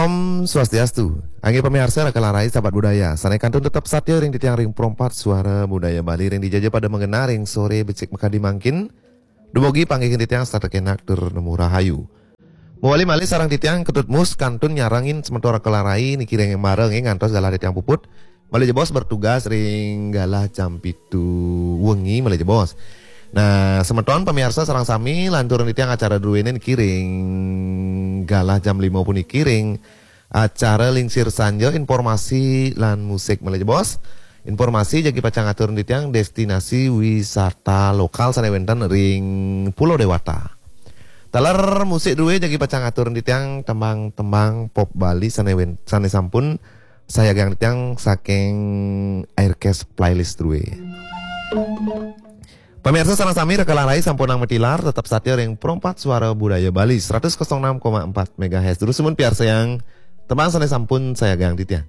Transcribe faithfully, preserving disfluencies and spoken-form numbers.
Om Swastiastu. Inggih pamiarsa Raka Larai sahabat budaya. Sané kantun tetep satia ring titiang ring Pro empat Suara Budaya Bali ring dija ja pada magenah ring soré becik makadi mangkin. Dumugi panggihin titiang setata kenak tur nemu rahayu. Mawali malih sareng titiang Ketut Mus kantun nyarengin semeton Raka Larai niki ring embara nggih ngantos galah titiang puput. Malih jebos bertugas ring galah jam pitu wengi malih jebos. Nah, semeton pamiarsa sareng sami lanturang titiang acara druéné niki ring galah jam lima puniki ring acara Lingsir Sanja, informasi lan musik malih jebos. Informasi jagi pacang atur titiang destinasi wisata lokal sané wénten ring Pulau Dewata. Taler musik drué jagi pacang atur titiang tembang-tembang pop Bali sané wén-, sané sampun sayagang titiang saking Aircast playlist drué. Pamiarsa sareng sami Raka Larai sampunang matilar, tetep satia ring Pro empat Suara Budaya Bali seratus kosong enam koma empat megahertz. Terus sumun piarsayang tembang sané sampun sayagang titiang.